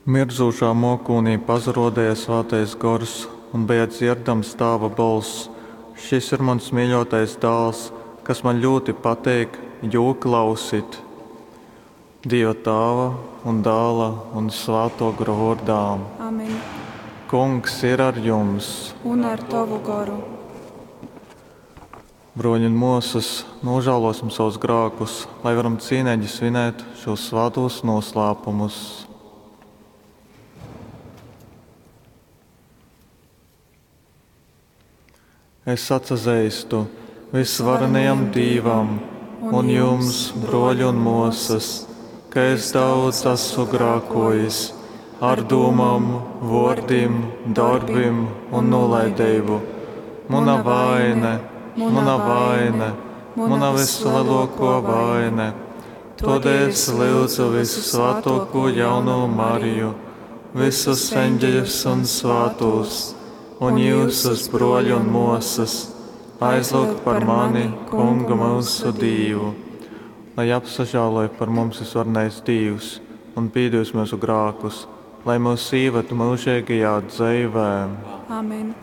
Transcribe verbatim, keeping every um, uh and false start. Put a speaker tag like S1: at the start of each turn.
S1: Mirdzūšā mōkūnī pasarōdeja Svātais Gors un beja dzierdams Tāva bolss, Šys ir muns mīļōtais Dāls, kas maņ ļūti pateik, Jū klausit! Dīva Tāva un Dāla un Svātō Gora vōrdā.
S2: Amen.
S1: Kungs ir ar jums!
S2: Un ar tovu goru.
S1: Brōļi un mōsas, nūžālōsim savus grākus, lai varam cīneigi svinēt šūs svātūs noslēpumus. Es atsazeistu visvarenajam Dīvam un jums, brōļi un mōsas, ka es daudz esmu grākojis ar dūmām, vōrdim, dorbim un nolaideibu. Muna vaine, muna vaine, muna vislielākā vaine. Tādēļ es lūdzu visusvētāko jauno Mariju, visus eņģeļus un svētos, un jūsus, brōļi un mōsas, aizlūgt par mani, Kungu mūsu Dīvu. Lai apsažāloj par mums visvarenais Dīvs un pīdevs mūsu grākus, lai mūs īved mūžīgajā dzeivē.
S2: Amen.